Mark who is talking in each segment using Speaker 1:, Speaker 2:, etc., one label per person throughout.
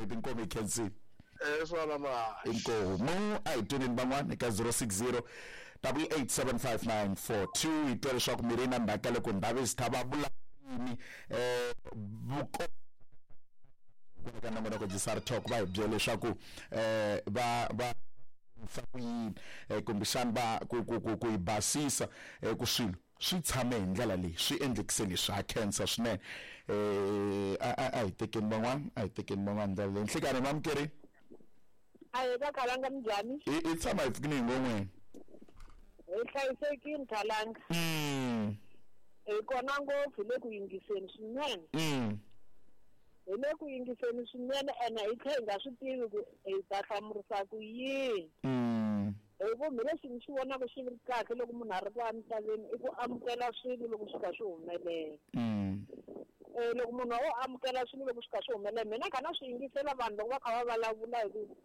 Speaker 1: N'hweti inkomu hi khensile.
Speaker 2: Swala ma.
Speaker 1: Inkomu a hi tweneni van'wana eka 060 8875942 hi twa leswaku mi ri na mhaka loko Ndhavezitha va vula yini vuko ka nongonoko Jisar Talk va hi byela leswaku va va ku yini kumbexana va ku ku ku ku yi basisa ku swilo swi tshame hi ndlela leyi swi endlekise leswi ha khensa swinene a hi tekeni van'wana a hi tekeni van'wana ndlela leyi nhlikani mamukeri
Speaker 3: a hi ka Khalanga minjhani
Speaker 1: i tshama hi pfukini hi ngon'weni
Speaker 3: hi hlayisekile Khalanga hi kona ngopfu hi le ku yingiseni swinene hi le ku yingiseni swinene ene hi tlhe hi nga swi tivi ku hi ta hlamurisa ku yini hi ku mi lexi ni xi vonaka xi ri kahle loko munhu a ri laha misaveni i ku amukela swilo loko swi kha swi humelela loko munhu o amukela swilo loko swi kha swi humelela mina kha na swi yingisela vanhu loko va kha va vulavula hi ku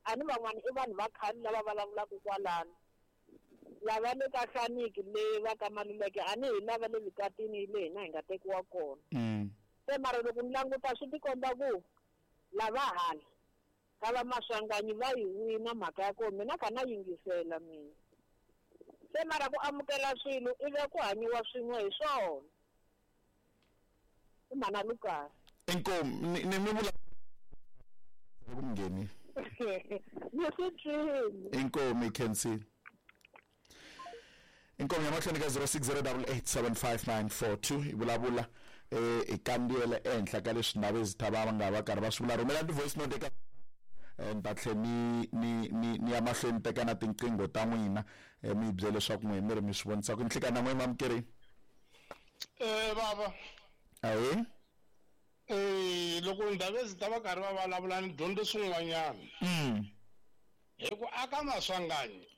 Speaker 3: a ni van'wana i vanhu va khale lava vulavulaka kwalano lava le ka Hlaniki le va ka Maluleke a ni hi lava le Vikatini le hina hi nga tekiwa kona se mara loko ni languta swi tikomba ku lava hala ka va Maswanganyi va yi wina mhaka ya kona mina kha na yingisela mina se mara ku amukela swilo ivi ku hanyiwa swin'we hi swona i mhana Lucas
Speaker 1: inkomu ni mi vula ku mi ngheni
Speaker 3: ni swi twini
Speaker 1: inkomu hi khensile inkomu ya mahlweni ka 0608875942 hi vulavula hi kandziyela ehenhla ka leswi Ndhavezitha va nga va karhi va swi vula rhumela ti-voice note eka ni ta tlhe ni ni ni ni ya mahlweni teka na tinqingho ta n'wina mi hi byela leswaku n'we mi ri mi swi vonisa ku nhlikani na n'we mamukeri
Speaker 2: baba
Speaker 1: ahee
Speaker 2: loko Ndhavezitha va karhi va vulavula ni dyondze swin'wanyana hi ku aka Maswanganyi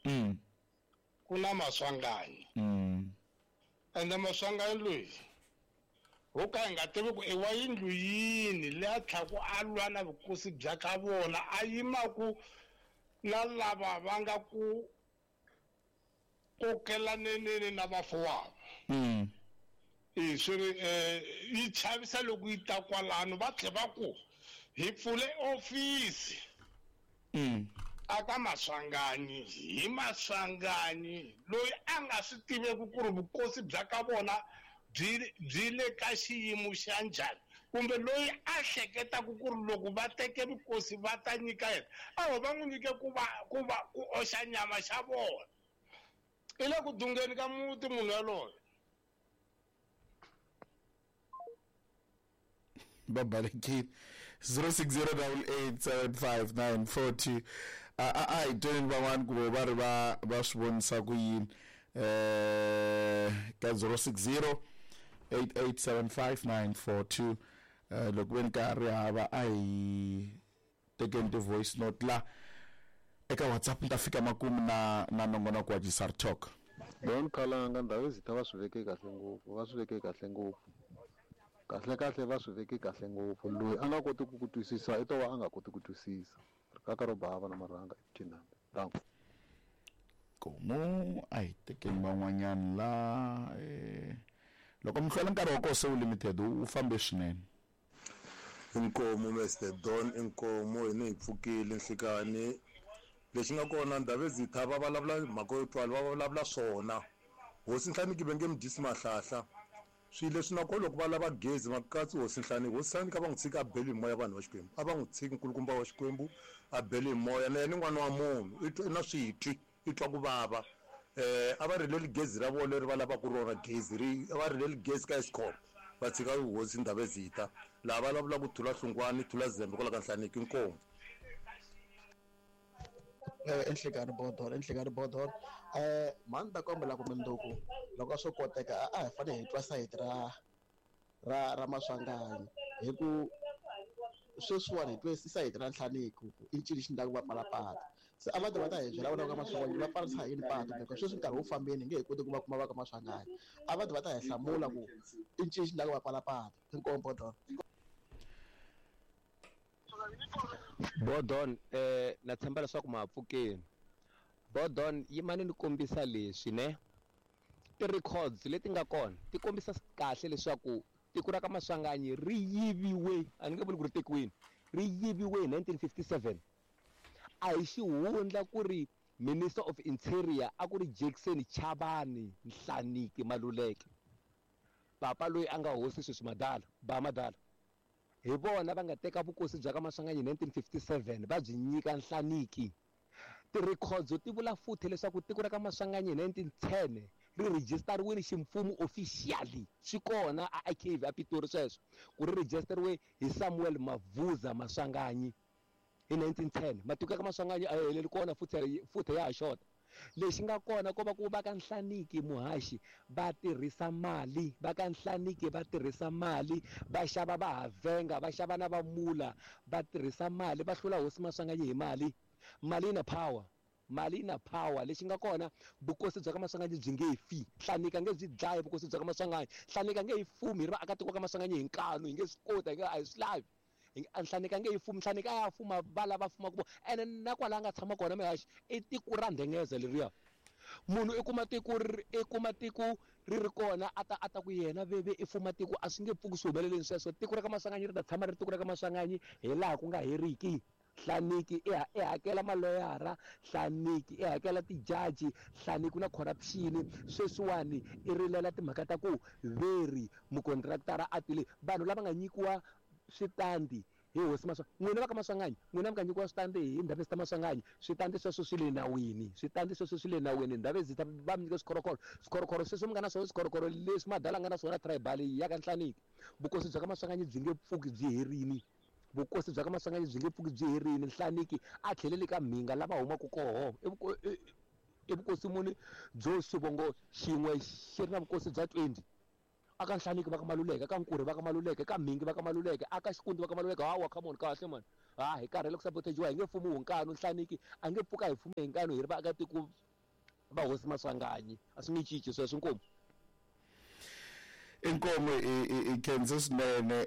Speaker 2: ku na Maswanganyi ende Maswanganyi loyi ho ka hi nga tivi ku i wa yindlu yini leyi a tlhaku a lwa na vukosi bya ka vona a yimaku na lava va nga ku kokelaneneni na vafuwava swi ri yi chavisa loko yi ta kwalano va tlhe va ku hi pfule ofisi aka Maswanganyi hi Maswanganyi loyi a nga swi tiveki ku ri vukosi bya ka vona byi le ka xiyimo xa njhani kumbe loyi a hleketaka ku ri loko va teke vukosi va ta nyika yena a va n'wi nyike ku va ku va ku oxa nyama xa vona i le ku dungeni ka muti munhu yaloye
Speaker 1: va balekile 0608875942 a hi tweni van'wana ku va ri va va swi vonisa ku yini ka 0608875942 loko ve ni karhi hava a hi tekeni ti-voice note la eka WhatsApp ni ta fika makumu na na nongonoko wa Jisar Talk.
Speaker 4: Don Khalanga Ndhavezitha va swi veke kahle ngopfu va swi veke kahle ngopfu kahle kahle va swi veke kahle ngopfu loyi a nga koti ku ku twisisa i to va a nga koti ku twisisa rikaka ro bava na marhanga ethinambe danko
Speaker 1: Komu a hi tekeni van'wanyana la loko mi hlwela nkarhi wa kona se wu limited wu fambe swinene.
Speaker 5: Inkomu Mr Don inkomu hina hi pfukile nhlikani lexi nga kona Ndhavezitha va vulavula mhaka yo twala va vulavula swona hosi Nhlaniki va nge mi dyisi mahlahla swilo leswi na kona loko va lava gezi va katsi hosi Nhlaniki hosi Nhlaniki a va n'wi tshiki a beli hi moya vanhu va Xikwembu a va n'wi tshiki nkulukumba wa Xikwembu a beli hi moya na yena i n'wana wa munhu i twa i na switwi i twa ku vava a va rileli gezi ra vona leri va lavaka rona gezi ri a va rileli gezi ka Eskom va tshika hosi Ndhavezitha laha va vulavulaka Thula Hlungwani Thula Zembe kwala ka Nhlaniki inkomu.
Speaker 6: Enhlekani bodolo enhlekani bodolo mhani ta kombela ku mundzuku loko a swo koteka a hi fanele hi twa sayiti ra ra ra Maswanganyi hi ku sweswiwani hi twe sayiti ra Nhlaniki ku i ncini xi endlaka va pfala patu se a va ta va ta hi byela vona va ka Maswanganyi va pfarisa yini patu because sweswi nkarhi wu fambeni hi nge he koti ku va kuma va ka Maswanganyi a va ta va ta hi hlamula ku i ncini xi endlaka va pfala patu inkomu bodolo.
Speaker 7: Bodon na tshemba leswaku ma pfukeni Bodon yimani ni kombisa leswi ne ti-records leti nga kona ti kombisa kahle leswaku tiko ra ka Maswanganyi ri yiviwe a ni nge vuli ku ri tekiwini Ri yiviwe hi 1957. A hi xihundla ku ri Minister of Interior a ku ri Jackson Chabani Nhlaniki Maluleke. Papa loyi a nga hosi sweswi madala, ba madala. Hi vona va nga teka vukosi bya ka Maswanganyi hi 1957 va byi nyika Nhlaniki. Ti-records ti vula futhi leswaku tiko ra ka Maswanganyi hi 1910 ri rejistariwile ximfumo officially. Swi kona a archive a Pitori sweswo ku ri rejistariwe hi Samuel Mavuza Maswanganyi hi 1910. Matiko ya ka Maswanganyi a ya heleli kona futhi ya ha xota. Lexi nga kona ko va ku va ka Nhlaniki Muhaxi va tirhisa mali, va ka Nhlaniki va tirhisa mali, va xava va Havenga, va xava na va Mula, va tirhisa mali, va hlula hosi Maswanganyi hi mali. Mali yi na power. Mali yi na power. Lexi nga kona vukosi bya ka Maswanganyi byi nge fi. Nhlaniki a nge byi dlayi vukosi bya ka Maswanganyi. Nhlaniki a nge yi fumi hi ri vaakatiko ka Maswanganyi hi nkanu, hi nge swi koti, a hi swi lavi. Nhlaniki a nge yi fumi, Nhlaniki a ya fuma va lava fumaka vona. Ene na kwala a nga tshama kona Mihaxi i tiko ra Ndhengeza leriya. Munhu i kuma tiko i kuma tiko ri ri kona a ta a ta ku yena veve i fuma tiko, a swi nge pfuki swi humeleleni sweswo. Tiko ra ka Maswanganyi ri ta tshama ri tiko ra ka Maswanganyi hi laha ku nga heriki. Nhlaniki i hakela maloyara, Nhlaniki i hakela tijaji, Nhlaniki na corruption. Sweswiwani i rilela timhaka ta ku veri mukontraktara a tile vanhu lava nga nyikiwa switandi hi hosi Maswanganyi. N'wina va ka Maswanganyi, n'wina mi nga nyikiwa switandi hi Ndhavezitha Maswanganyi, switandi sweswo swi le nawini, switandi sweswo swi le nawini. Ndhavezitha va mi nyika swikhorokhoro, swikhorokhoro sweswo mi nga na swona, swikhorokhoro leswi madala nga na swona tribal ya ka Nhlaniki. Vukosi bya ka Maswanganyi byi nge pfuki byi herini. Vukosi bya ka Maswanganyi byi nge pfuki byi herini. Nhlaniki a tlheleli ka Mhinga lava humaka koho. I vukosi muni byo xivongo xin'we xi ri na vukosi bya 20? Aka Nhlaniki va ka Maluleke, aka Nkurhi va ka Maluleke, ka Mhingi va ka Maluleke, aka Xikundi va ka Maluleke. Hawa, come on, kahle man. Ha, hi karhele ku sabotajiwa, hi nge fumiwi hi nkanu. Nhlaniki a nge pfuka hi fume hi nkanu hi ri vaakatiko va hosi Maswanganyi. A swi nge cinci sweswo. Inkomu.
Speaker 1: Inkomu i khense swinene.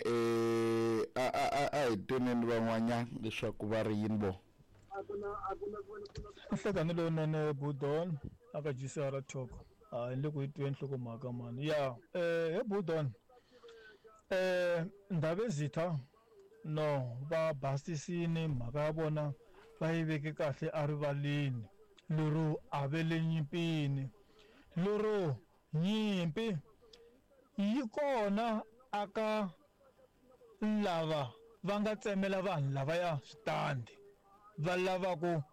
Speaker 1: A hi tweneni van'wanyana leswaku va ri yini vo.
Speaker 8: Nhlekani lowunene Budon aka GCR Talk. A ni le ku yi tweni nhlokomhaka mani. Ya, he Budon. Ndhavezitha no va basisini mhaka ya vona va yi veke kahle erivaleni lero a ve le nyimpini. Lero nyimpi yi kona aka lava va nga tsemela vanhu lavaya switandi va lava ku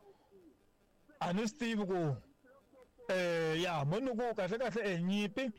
Speaker 8: a ni swi tivi ku ya mo ni ku kahle kahle nyimpi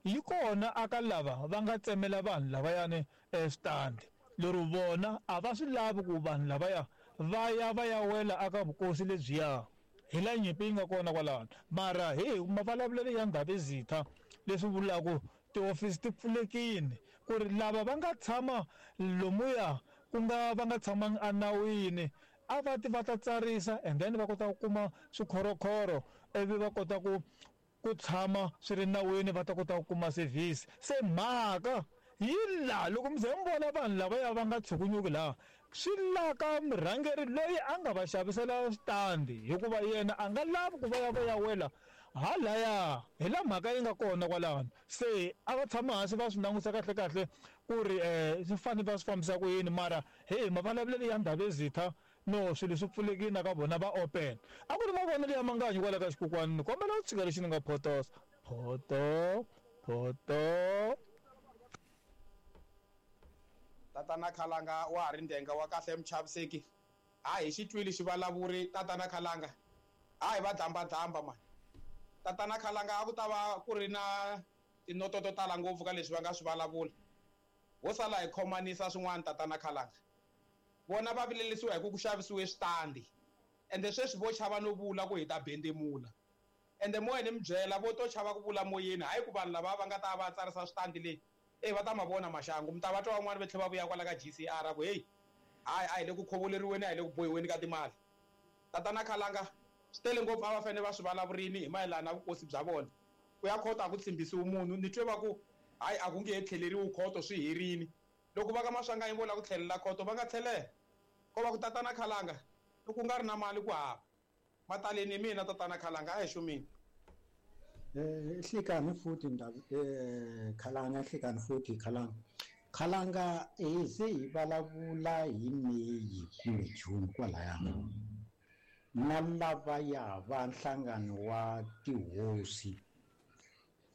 Speaker 8: yi kona aka lava va nga tsemela vanhu lavayani switandi lero vona a va swi lavi ku vanhu lavaya va ya va ya wela aka vukosi lebyiya. Hi la nyimpi yi nga kona kwalano. Mara hi mavulavulelo ya Ndhavezitha leswi vulaka tiofisi ti pfulekile ku ri lava va nga tshama lomuya ku nga va nga tshamangi enawini a va ti va ta tsarisa and then va kota ku kuma swikhorokhoro ivi va kota ku tshama swi ri nawini va ta kota ku kuma service. Se mhaka yi laha loko mi ze mi vona vanhu lavaya va nga tshukunyuki laha swi laka murhangeri loyi a nga va xavisela switandi hikuva yena a nga lavi ku va ya va ya wela halaya. Hi la mhaka yi nga kona kwalano. Se a va tshama hansi va swi langusa kahle kahle ku ri swi fanele va swi fambisa ku yini. Mara he mavulavulelo ya Ndhavezitha no swilo swi pfulekile na ka vona va open. A ku ri mavonelo ya Manganyi kwala ka xikokwani. Ni kombela u tshika lexi ni nga photosa. Photo, photo.
Speaker 9: Tatana Khalanga wa ha ri ndenga wa kahle muchaviseki. Ha hi xi twile xivulavuri Tatana Khalanga. Ha hi va dlambadlamba mani. Tatana Khalanga a ku ta va ku ri na tinoto to tala ngopfu ka leswi va nga swi vulavula. Ho sala hi khomanisa swin'wana Tatana Khalanga. Vona va vilelisiwa hi ku ku xavisiwe switandi. Ende sweswi vo chava no vula ku hi ta bendemula. Ende moya ni mi byela vo to chava ku vula moyeni, hayi ku vanhu lava va nga ta va tsarisa switandi leyi. Va ta ma vona maxangu. Mi ta va twa van'wani va tlhela va vuya kwala ka GCR ku hey, hayi a hi le ku khovoleriweni, a hi le ku bohiweni ka timali. Tatana Khalanga swi tele ngopfu a va fanele va swi vulavurini hi mayelana na vukosi bya vona. Ku ya khoto a ku tshembisiwi munhu, ni twe va ku hayi a ku nge he tlheleriwi khoto swi herini. Loko va ka Maswanganyi vo lava ku tlhelela khoto va nga tlhelela. Ko va ku Tatana Khalanga loko ku nga ri na mali ku hava. Mataleni hi mina Tatana Khalanga a hi xumini.
Speaker 10: Nhlikani futhi Khalanga, nhlikani futhi Khalanga. Khalanga hi ze hi vulavula hi May kumbe June kwalaya na lavaya va nhlangano wa tihosi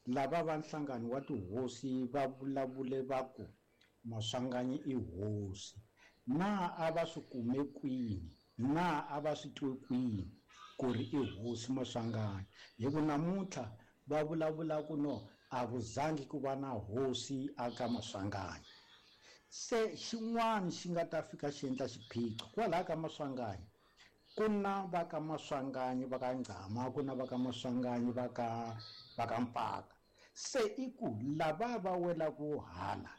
Speaker 10: lava va nhlangano wa tihosi va vulavule va ku Maswanganyi i hosi na a va swi kume kwini na a va swi twe kwini ku ri i hosi Maswanganyi hi ku namuntlha va vulavula ku no a ku zangi ku va na hosi aka Maswanganyi se xin'wana xi nga ta fika xi endla xiphiqo kwalaha ka Maswanganyi ku na va ka Maswanganyi va ka Ngcama ku na va ka Maswanganyi va ka Mpaka se i ku lava va welaku hala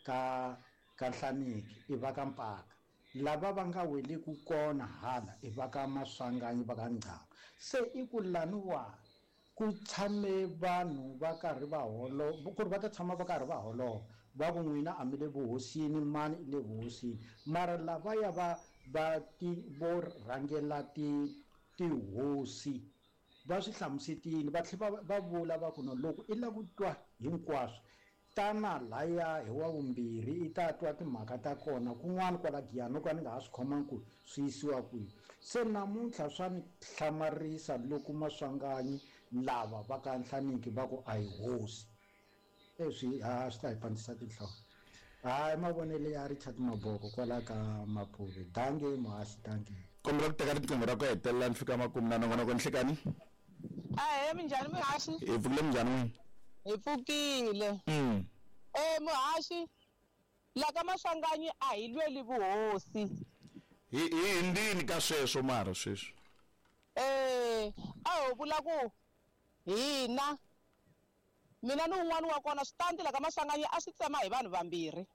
Speaker 10: ka Nhlaniki i va ka Mpaka lava va nga weleku kona hala i va ka Maswanganyi va ka Ngcama se i ku laniwa ku tshame vanhu va karhi va holova ku ri va ta tshama va karhi va holova va ku n'wina a mi le vuhosini mani i le vuhosini mara lavaya va vo rhangela tihosi va swi hlamusetile va tlhela va vula va ku no loko i lava ku twa hinkwaswo tana laya hi wa vumbirhi i ta twa timhaka ta kona kun'wana kwala Giyani no ka ni nga ha swi khomangi ku swi yisiwa kwihi se namuntlha swa ni hlamarisa loko Maswanganyi lava va ka Nhlaniki va ku a hi hosi leswi a swi ta hi pandzisa tinhloko hayi mavonelo ya Richard Maboko kwala ka Mapuve dange muhaxi dange
Speaker 1: kombela ku teka riqingho ra ku hetelela ni fika makumu na nongonoko nhlekani
Speaker 11: ahe minjhani muhaxi
Speaker 1: hi pfukile minjhani n'wina
Speaker 11: hi pfukile muhaxi la ka Maswanganyi a hi lweli vuhosi
Speaker 1: hi hindzini ka sweswo mara sweswi
Speaker 11: a ho vula ku hina mina ni un'wana wa kona switandi la ka Maswanganyi a swi tsema hi vanhu vambirhi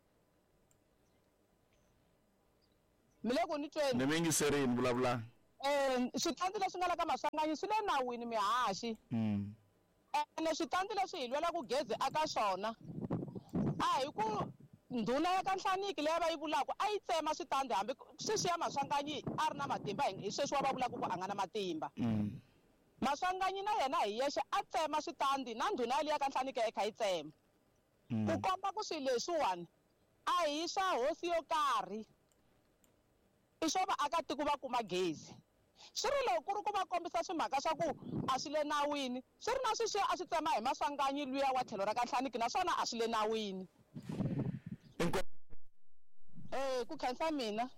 Speaker 11: mi le ku ni tweni
Speaker 1: ni mi yingiserini vulavulani
Speaker 11: switandi leswi nga la ka Maswanganyi swi le nawini mihaxi ene switandi leswi hi lwelaku gezi aka swona a hi ku ndhuna ya ka Nhlaniki leyi va yi vulaka a yi tsema switandi hambi sweswi ya Maswanganyi a ri na matimba hi sweswi wa va vulaka ku a nga na matimba Maswanganyi na yena hi yexe a tsema switandi na ndhuna yaliya ka Nhlaniki yi kha yi tsema ku komba ku swilo leswiwani a hi swa hosi yo karhi i swo vaakatiko va kuma gezi swi ri loko ku ri ku va kombisa swimhaka swa ku a swi le nawini swi ri na sweswiya a swi tsema hi Maswanganyi luya wa tlhelo ra ka Nhlaniki naswona a swi le nawini ku khensa mina.